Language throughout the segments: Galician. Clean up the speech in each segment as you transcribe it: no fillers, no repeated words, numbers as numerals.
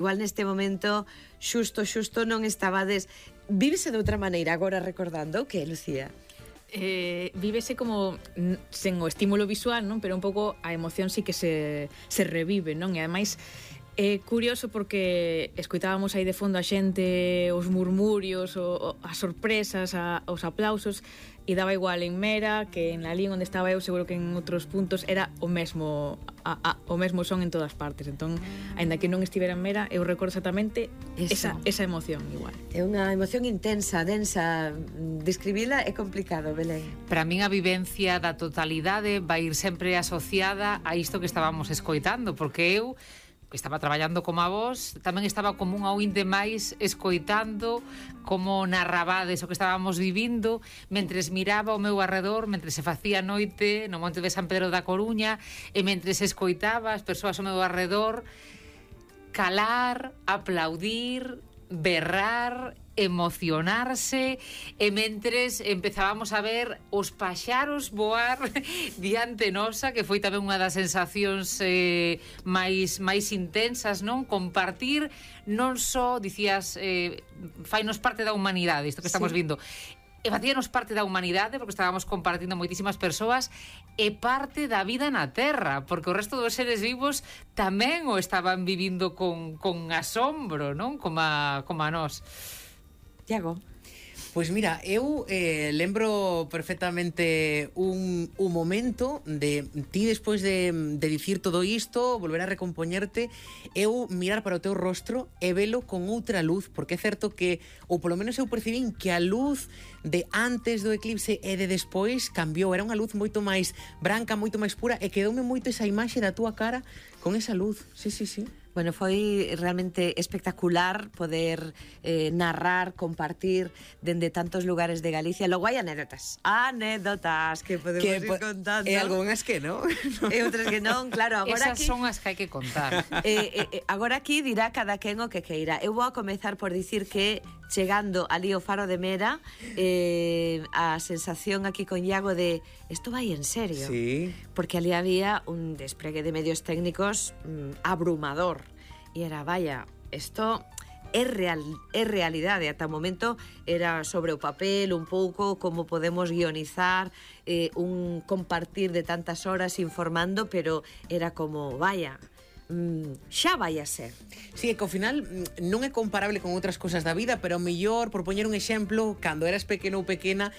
Igual neste momento xusto non estabades. Vívese de outra maneira agora recordando, que, Lucía? Vívese como sen o estímulo visual, non? Pero un pouco a emoción sí que se revive, non? E ademais é curioso porque escoitábamos aí de fondo a xente, os murmurios, as sorpresas, os aplausos, e daba igual en Mera que en Lalín onde estaba eu, seguro que en outros puntos era o mesmo son en todas partes. Entón, aínda que non estivera en Mera, eu recordo exactamente esa emoción igual. É unha emoción intensa, densa. Describila é complicado, Belén. Para min a vivencia da totalidade vai ir sempre asociada a isto que estábamos escoitando, porque eu que estaba traballando como a vos, tamén estaba como unha ointe máis escoitando como narrabades o que estábamos vivindo, mentres miraba ao meu arredor, mentres se facía noite no Monte de San Pedro da Coruña, e mentres escoitaba as persoas ao meu arredor calar, aplaudir, berrar, emocionarse, e mentres empezábamos a ver os paxaros voar diante nosa, que foi tamén unha das sensacións máis intensas, non? Compartir non só, dicías, fainos parte da humanidade, isto que estamos vindo, e facíanos parte da humanidade porque estábamos compartindo moitísimas persoas, e parte da vida na Terra, porque o resto dos seres vivos tamén o estaban vivindo con asombro, non? Como a nós. Iago? Pois mira, eu lembro perfectamente un momento de ti despois de dicir todo isto, volver a recompoñerte, eu mirar para o teu rostro e velo con outra luz, porque é certo que, ou polo menos eu percibín que a luz de antes do eclipse e de despois cambiou, era unha luz moito máis branca, moito máis pura, e quedoume moito esa imaxe da túa cara con esa luz. Sí. Bueno, foi realmente espectacular poder narrar, compartir dende tantos lugares de Galicia. Logo hai anécdotas que podemos ir contando. E algunhas que non. E outras que non, claro. Agora esas son as que hai que contar. Agora aquí dirá cada quen o que queira. Eu vou a comezar por dicir que chegando ali ao Faro de Mera, a sensación aquí con Iago de isto vai en serio. Sí. Porque ali había un despregue de medios técnicos abrumador. E era, vaya, isto é realidade. Ata o momento era sobre o papel un pouco como podemos guionizar un compartir de tantas horas informando, pero era como, vaya, xa vai a ser. Sí, é que ao final non é comparable con outras cosas da vida, pero mellor, por poñer un exemplo, cando eras pequeno ou pequena,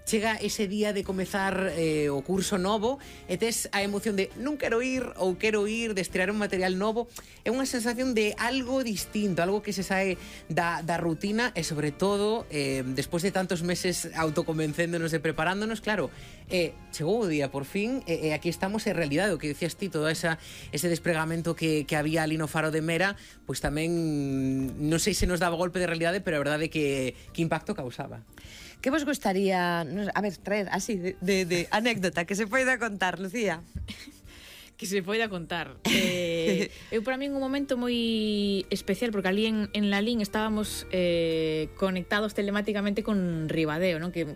chega ese día de comezar o curso novo e tes a emoción de non quero ir ou quero ir, de estrear un material novo. É unha sensación de algo distinto, algo que se sae da rutina, e sobre todo despois de tantos meses autoconvencéndonos e preparándonos, claro, chegou o día por fin, e aquí estamos en realidade, o que dicías ti, todo ese despregamento que había ali no Faro de Mera, pois tamén non sei se nos daba golpe de realidade, pero a verdade é que impacto causaba. Que vos gustaría, a ver, traer así de anécdota que se poida contar, Lucía? Que se poida contar. Eu para min un momento moi especial, porque ali en Lalín estábamos conectados telemáticamente con Ribadeo, non? Que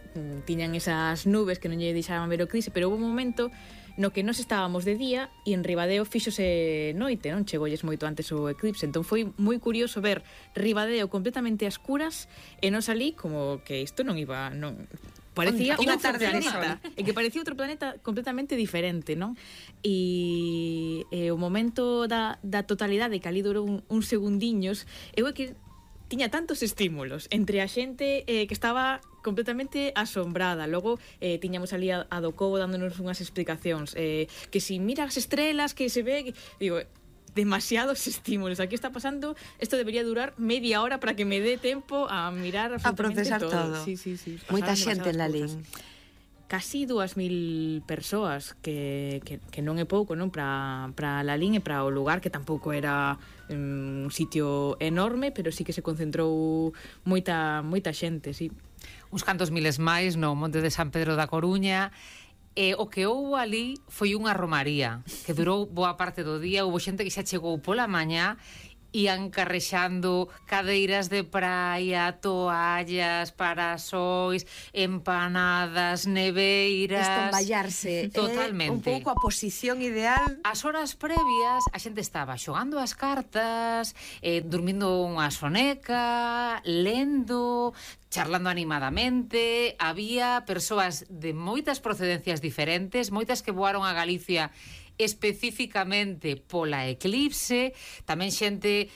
tiñan esas nubes que non lle deixaban ver o eclipse, pero houve un momento no que nós estábamos de día e en Ribadeo fíxose noite, non? Chegolles moito antes o eclipse, entón foi moi curioso ver Ribadeo completamente a escuras e nós ali como que isto non iba, non parecía unha tarde de planeta, e que parecía outro planeta completamente diferente, non? E o momento da totalidade, que ali durou un segundiños, eu é que tiña tantos estímulos entre a xente que estaba completamente asombrada. Logo tiñamos ali a do Cobo dándonos unhas explicacións, que si mira as estrelas que se ve, digo, demasiados estímulos. Aquí está pasando, isto debería durar media hora para que me dé tempo a mirar absolutamente a procesar todo. Sí. Moita xente en Lalín. Casi 2.000 persoas, que non é pouco, non? Para Lalín e para o lugar, que tampouco era un sitio enorme, pero sí que se concentrou moita xente, sí. Uns cantos miles máis no Monte de San Pedro da Coruña. E o que houve ali foi unha romaría que durou boa parte do día. Houve xente que xa chegou pola mañá ian carrexando cadeiras de praia, toallas, parasóis, empanadas, neveiras... Estomballarse. Totalmente. Un pouco a posición ideal. As horas previas a xente estaba xogando as cartas, dormindo unha soneca, lendo, charlando animadamente. Había persoas de moitas procedencias diferentes, moitas que voaron a Galicia especificamente pola eclipse, tamén xente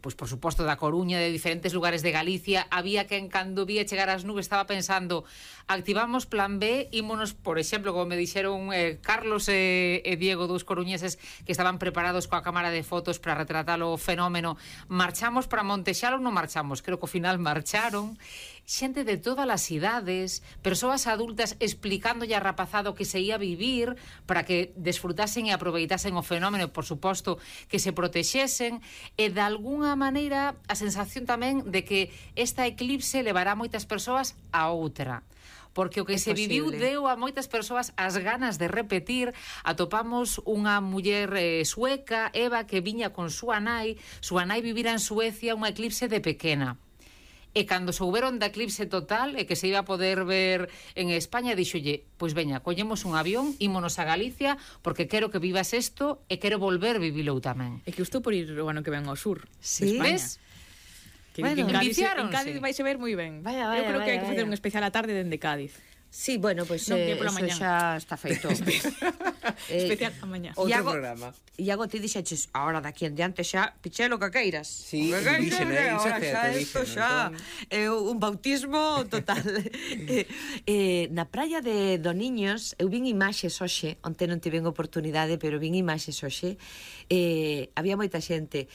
pois por suposto da Coruña, de diferentes lugares de Galicia. Había quen cando vía chegar as nubes estaba pensando, activamos plan B, ímonos, por exemplo, como me dixeron Carlos e Diego, dous coruñeses que estaban preparados coa cámara de fotos para retratar o fenómeno, marchamos para Montexal ou non marchamos? Creo que ao final marcharon. Xente de todas as idades, persoas adultas explicándolle a rapazado que se ia vivir para que desfrutasen e aproveitasen o fenómeno, por suposto, que se protexesen, e de algunha maneira a sensación tamén de que esta eclipse levará moitas persoas a outra. Porque o que se viviu deu a moitas persoas as ganas de repetir. Atopamos unha muller sueca, Eva, que viña con súa nai vivira en Suecia unha eclipse de pequena. E cando souberon da eclipse total e que se iba a poder ver en España, dixolle, pois veña, collemos un avión, ímonos a Galicia, porque quero que vivas isto e quero volver vivilo tamén. É que estou por ir o ano que ven ao sur. Sí, ves? Que bueno, en Cádiz vais a ver moi ben. Vaya, Eu creo que hai que facer vaya. un especial a tarde dende Cádiz. Sí, bueno, pois Non, que pola eso mañá. xa está feito. Especial a mañá. Outro Iago, programa. Iago, ti dixeches, ahora daqui en diante xa, pichelo que queiras. Sí, O que dixen, queiras, iso ahora é certo, xa, dixen, isto xa é un bautismo total. Na praia de Doniños, eu vin imaxes hoxe, onte non tiven oportunidade, pero vin imaxes hoxe, había moita xente.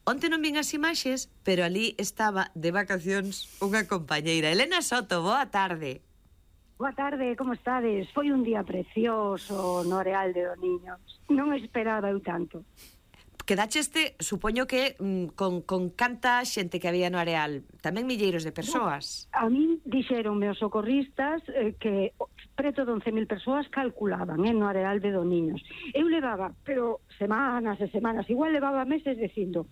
Onte non vin as imaxes, pero ali estaba de vacacións unha compañeira. Elena Soto, boa tarde. Boa tarde, como estades? Foi un día precioso no Areal de Doniños. Non esperaba eu tanto. Quedacheste, supoño que con canta xente que había no Areal, tamén milleiros de persoas. A min dixeronme os socorristas que preto de 11.000 persoas calculaban no Areal de Doniños. Eu levaba, pero semanas e semanas, igual levaba meses dicindo,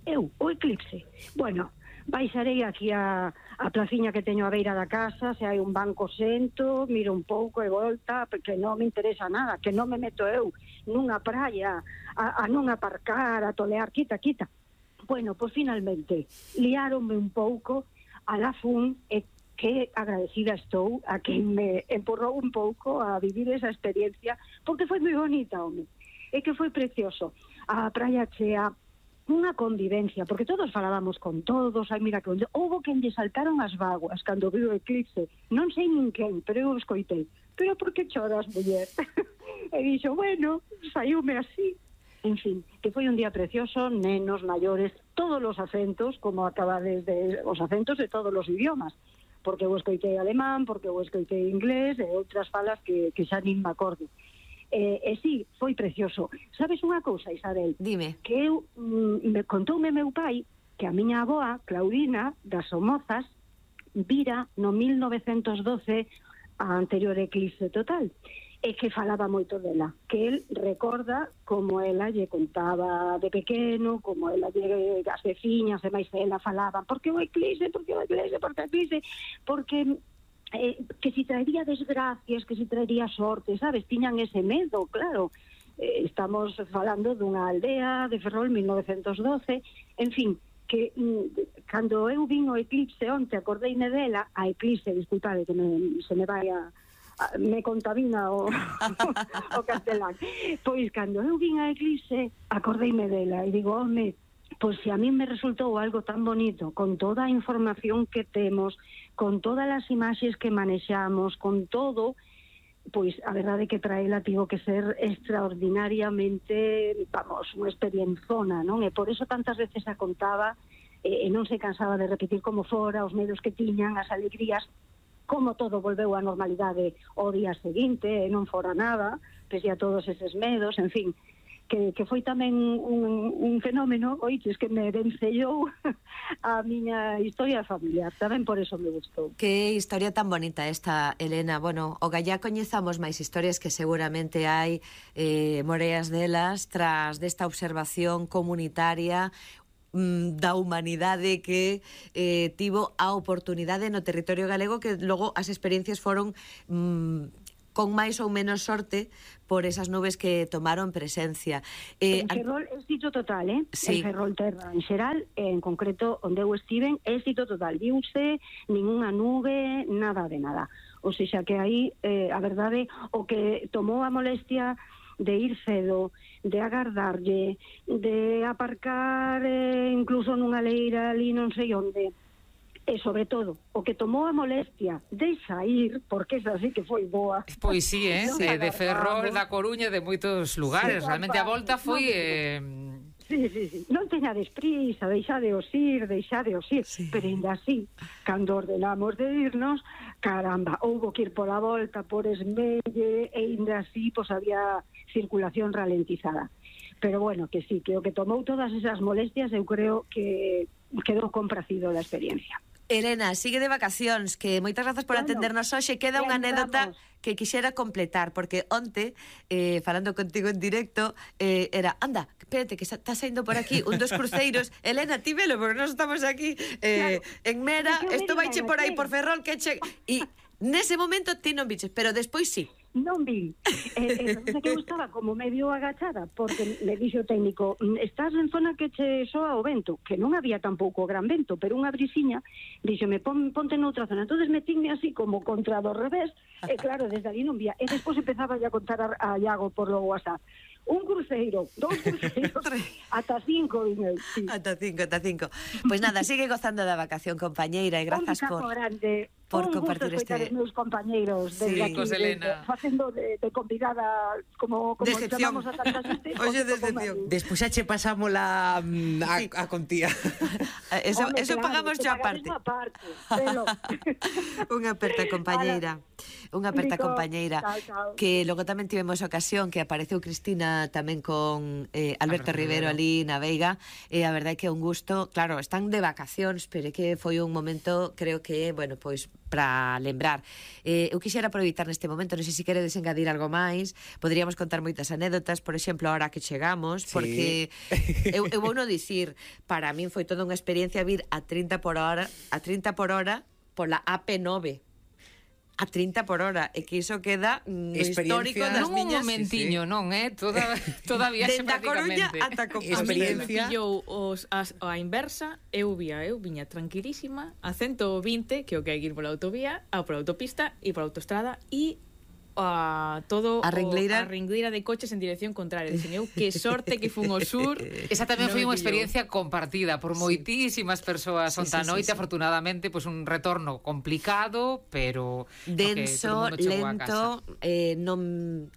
o eclipse. Bueno, baixarei aquí a placiña que teño a beira da casa, se hai un banco sento, miro un pouco e volta, porque non me interesa nada, que non me meto eu nunha praia a non aparcar, a tolear, quita. Bueno, pois finalmente liáronme un pouco a la fun e que agradecida estou a quen me empurrou un pouco a vivir esa experiencia, porque foi moi bonita, home. E que foi precioso. A praia chea, unha convivencia, porque todos falábamos con todos, ai mira que houbo quen lle saltaron as vaguas cando viu o eclipse, non sei nin quen, pero eu escoitei, pero por que choras, muller? E dixo, bueno, saiume así. En fin, que foi un día precioso, nenos, maiores, todos os acentos, como acabades de os acentos de todos os idiomas, porque eu escoitei alemán, porque eu escoitei inglés e outras falas que xa nin me acordo. E sí, foi precioso. Sabes unha cousa, Isabel? Dime. Que eu, contoume meu pai que a miña avoa, Claudina, das Somozas, vira no 1912 a anterior eclipse total, e que falaba moito dela, que el recorda como ela lle contaba de pequeno, como ela lle, as veciñas e máis ela falaban, porque o eclipse, porque que si traería desgracias, que si traería sorte, sabes? Tiñan ese medo, claro. Estamos falando dunha aldea de Ferrol, 1912, en fin, que cando eu vin o eclipse onte, acordeime dela, a eclipse, disculpade que se me vai me contamina o castelán. Pois cando eu vin a eclipse, acordeime dela e digo, home, pois se a mí me resultou algo tan bonito, con toda a información que temos, con todas as imaxes que manexamos, con todo, pois a verdade é que para ela tivo que ser extraordinariamente, vamos, unha experienciona, non? E por eso tantas veces a contaba e non se cansaba de repetir como fora, os medos que tiñan, as alegrías, como todo volveu á normalidade o día seguinte, e non fora nada, pese a todos eses medos, en fin. que foi tamén un fenómeno, oiches, que me vencellou a miña historia familiar, tamén por eso me gustou. Que historia tan bonita esta, Elena. Bueno, o gallá coñezamos máis historias que seguramente hai moreas delas tras desta observación comunitaria da humanidade que tivo a oportunidade no territorio galego, que logo as experiencias foron con máis ou menos sorte por esas nubes que tomaron presencia. En Ferrol, éxito total, Sí. En Ferrol Terra, en xeral, en concreto, onde eu estiven, éxito total. Viuse ninguna nube, nada de nada. O sea que aí, a verdade, o que tomou a molestia de ir cedo, de agardarlle, de aparcar incluso nunha leira ali non sei onde, e sobre todo, o que tomou a molestia de sair, porque esa sí que foi boa. Pois sí, Non de Ferrol, agardamos. da Coruña, de moitos lugares. Sí, Realmente a volta foi... Sí. Non teñades prisa, deixadeos ir, Sí. pero ainda así, cando ordenamos de irnos, caramba, houbo que ir pola volta, por Esmelle, e ainda así, pois había circulación ralentizada. Pero bueno, que sí, que o que tomou todas esas molestias, eu creo que quedou compracido la experiencia. Elena, sigue de vacacións, que moitas grazas por Bueno, atendernos hoxe. Queda unha anécdota que quixera completar, porque onte, falando contigo en directo, era, anda, espérate, que está saindo por aquí un dos cruceiros. Elena, ti velo, porque nós estamos aquí en Mera, isto vaiche por aí por Ferrol, que che... E nese momento ti non biches, pero despois sí. Non vi. Resulta que eu estaba como medio agachada, porque me dixo o técnico, estás en zona que che soa o vento, que non había tampouco gran vento, pero unha brisiña, díxome, ponte noutra zona. Entonces metín-me así como contra do revés, e claro, desde ali non vía. E despois empezaba a contar a Iago por lo WhatsApp. Un cruceiro, 2 cruceiros, ata 5, vine. Sí. Ata cinco. Pois nada, sigue gozando da vacación, compañeira, e grazas Un por grande. por Un compartir gusto escoitar os meus compañeiros desde aquí, Cos Elena. facendo de convidada como Decepción. chamamos a tanta xente. Oye, como decepción. Mari. Despois xa che pasamos a contía. Eso Home, eso claro, pagamos te xa pagades aparte. unha parte, velo. Unha aperta compañeira. Unha aperta Rico. compañeira. Chao, chao. Que logo tamén tivemos ocasión que apareceu Cristina tamén con Alberto Rivero ali na Veiga, e a verdade é que é un gusto. Claro, están de vacacións, pero é que foi un momento, creo que, bueno, pois para lembrar. Eu quixera aproveitar neste momento, non sei se queredes engadir algo máis, poderíamos contar moitas anécdotas, por exemplo, ahora que chegamos, Sí. porque eu vou non dicir, para min foi toda unha experiencia vir a 30 por hora pola AP9. A 30 por hora, e que iso queda no histórico Experiencia. das Non un miñas... momentiño, non, toda viaxe Dende a Coruña prácticamente. ata Compostela. Experiencia. Pillou a inversa, eu viña tranquilísima a 120, que o que hai que ir pola autovía, pola autopista e pola autostrada, e todo A ringleira. a ringleira de coches en dirección contraria. Dixen eu, que sorte que fun ao sur. Esa tamén Non foi me unha pillou. experiencia compartida por moitísimas persoas onta noite, afortunadamente, pois un retorno complicado, pero denso, todo o mundo chegou a lento, non,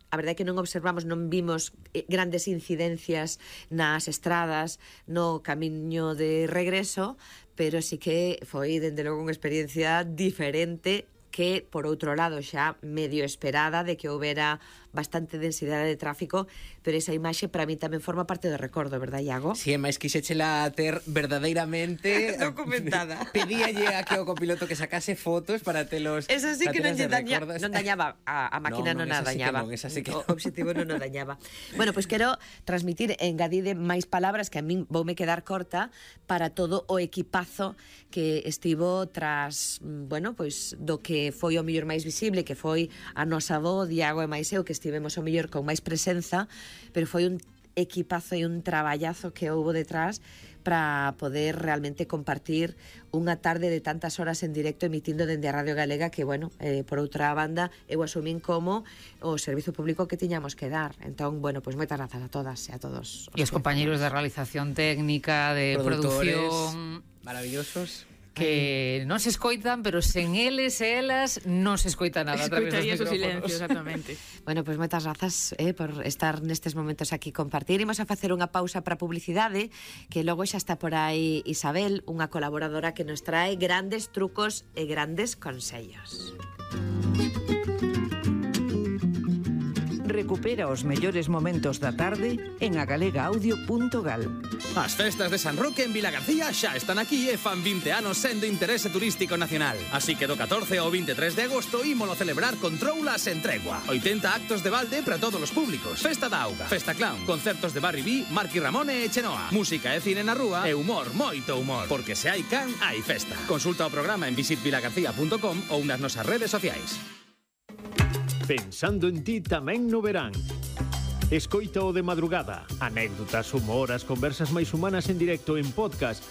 a verdade é que non observamos, non vimos grandes incidencias nas estradas no camiño de regreso, pero sí que foi, dende logo, unha experiencia diferente, que, por outro lado, xa medio esperada, de que houbera bastante densidade de tráfico, pero esa imaxe para mí tamén forma parte do recordo, verdad, Iago? Si, é máis quixéchela ter verdadeiramente Documentada. Pedíalle a que o copiloto que sacase fotos para telos. Eso sí para que non, telas de recordas. non dañaba a máquina, No, non a esa sí que dañaba. non, esa sí que O non. obxectivo non o dañaba. Bueno, pois quero transmitir, engadide máis palabras que a min voume quedar corta para todo o equipazo que estivo tras, bueno, pois do que foi o mellor máis visible, que foi a nosa voz, Iago e máis eu, que estivemos o mellor con máis presenza, pero foi un equipazo e un traballazo que houbo detrás para poder realmente compartir unha tarde de tantas horas en directo emitindo dende a Radio Galega, que, bueno, por outra banda, eu asumín como o servizo público que tiñamos que dar. Entón, bueno, pois moitas grazas a todas e a todos. E os compañeiros de realización técnica, de Produtores producción, maravillosos. que non se escoitan, pero sen eles e elas non se escoita nada a través dos Escoitarías o micrófonos. silencio, exactamente. Bueno, pois moitas grazas por estar nestes momentos aquí compartir. Imos a facer unha pausa para publicidade, que logo xa está por aí Isabel, unha colaboradora que nos trae grandes trucos e grandes consellos. Recupera os mellores momentos da tarde en agalegaudio.gal. As festas de San Roque en Vilagarcía xa están aquí e fan 20 anos sendo interese turístico nacional. Así que do 14 ao 23 de agosto ímolo celebrar con troulas en tregua. 80 actos de balde para todos os públicos. Festa da auga, festa clown, concertos de Barry B, Marqui Ramone e Chenoa. Música e cine na rúa e humor, moito humor. Porque se hai can, hai festa. Consulta o programa en visitvilagarcía.com ou nas nosas redes sociais. Pensando en ti tamén no verán. Escoita o de madrugada. Anécdotas, humor, as conversas máis humanas en directo en podcast